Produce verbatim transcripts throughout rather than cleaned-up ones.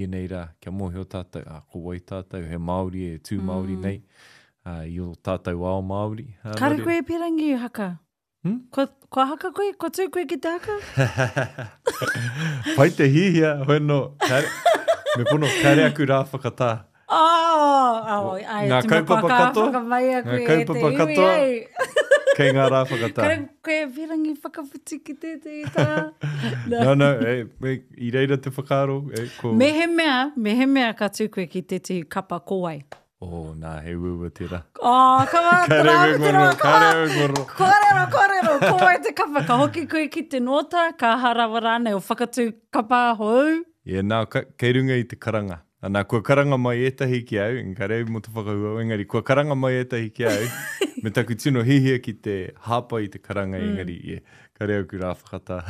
Ēnei rā, kia mōhio tātou, ā, ko wai tātou, he Māori e tū Māori Mm. nei, ā, i ō tātou ao Māori. Ā, nō Kāre reira. koe e pīrangi haka? Hmm? Kua, kua haka koe? Kua tū koe ki te haka? Pai te hihia, hoi no, kāre, me pono, kāre aku rā whakatā. Oh, oh, ai, Ngā tino kaupapa kua kā katoa, whakamaia ngā koe e te kaupapa iwi, katoa, ai. kei ngā rā whakatā. Kāre koe e pīrangi whakawhiti ki tētehi tā. No, no, e, e, i reira te whakaaro, e, ko... Mehemea, mehemea ka tū koe ki tētehi kapa ko wai. Oh, nā, he uaua tērā. Oh, come on, Kāre te au e rā, te rā, kōrero, come kāre on. au e kōrero. Kōrero, kōrero, ko wai te kapa, ka hoki koe ki te nōta, ka aha rawa rānei o whakatū kapa hou. Yeah, nā, ka, kei runga i te karanga. Nā, kua karanga mai ētahi ki au, engari mō te whakahua, engari kua karanga mai ētahi ki au, me taku tino hihia ki te hāpai i te karanga, Mm. engari, yeah, kāre aku rā whakatā.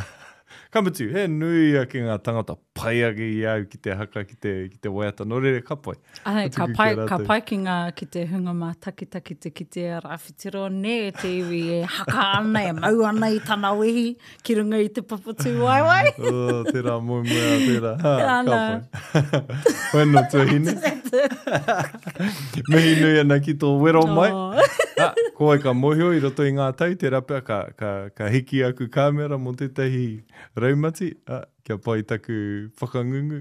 Ka mutu, he nui ake ngā tangata pai ake i au ki te haka, ki te, ki te waiata, nō reira, ka pai. Ai, Ka ka tuku pai, ki a ka rātou. pai ki ngā, ki te hunga mātakitaki te kitea Rāwhitiroa nē, te iwi e haka ana, e mau ana i tana wehi ki runga i te papa tūwaewae. Oh, tērā moemoeā, tērā. Ha, ka Ana. pai. Hoi no tuahine. Mihi nui ana ki tō wero mai. Oh. Ah, ko wai ka mōhio i roto i ngā tau, tērā pea ka, ka, ka hiki aku kāmera mō tētahi raumati, ah, kia pai taku whakangungu.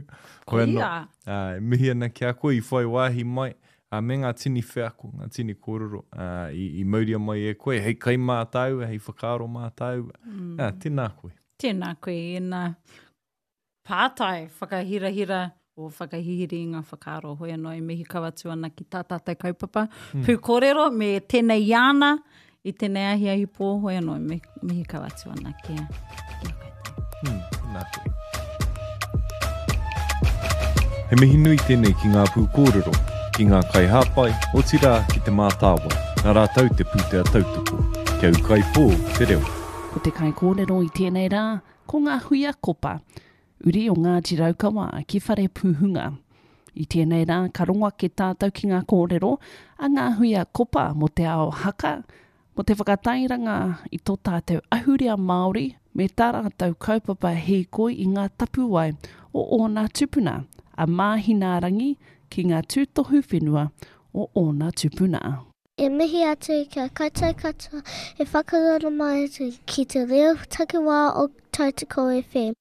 Hoi anō, Koia. ah, e mihi ana ki a koe i whai wāhi mai, ah, me ngā tini wheako, ngā tini kōrero, ah, i, i mauria mai e koe, hei kai mā tāua, hei whakaaro mā tāua. Mm. Ah, tēnā koe. Tēnā koe, ēnā pātai whakahirahira o whakahihiri i ngā whakaaro. Hoi anō e mihi kau atu ana ki tā tātou kaupapa. Mm. Pūkōrero me tēnei iana i tēnei ahiahi pō. Hoi anō e mihi, mihi kau atu ana ki a, ki a koutou. Mm, tēnā koe. He mihi nui tēnei ki ngā pūkōrero, ki ngā kaihāpai, otirā ki te mātāwai, nā rātou te pūtea tautoko, kia ūkaipō te reo. Ko te kaikōrero i tēnei rā, ko ngā huia kopa, uri o Ngāti Raukawa ki Whare Pūhunga. I tēnei rā, ka rongo ake tātou ki ngā kōrero a ngā huia kopa mō te ao haka, mō te whakatairanga i tō tātou ahurea Māori me tā rātou kaupapa hīkoi i ngā tapuwae o ōna tupuna, a Māhinārangi ki ngā tūtohu whenua o ōna tupuna. E mihi atu kia koutou katoa e whakarongo mai atu ki te reo takiwā o Tautoko F M.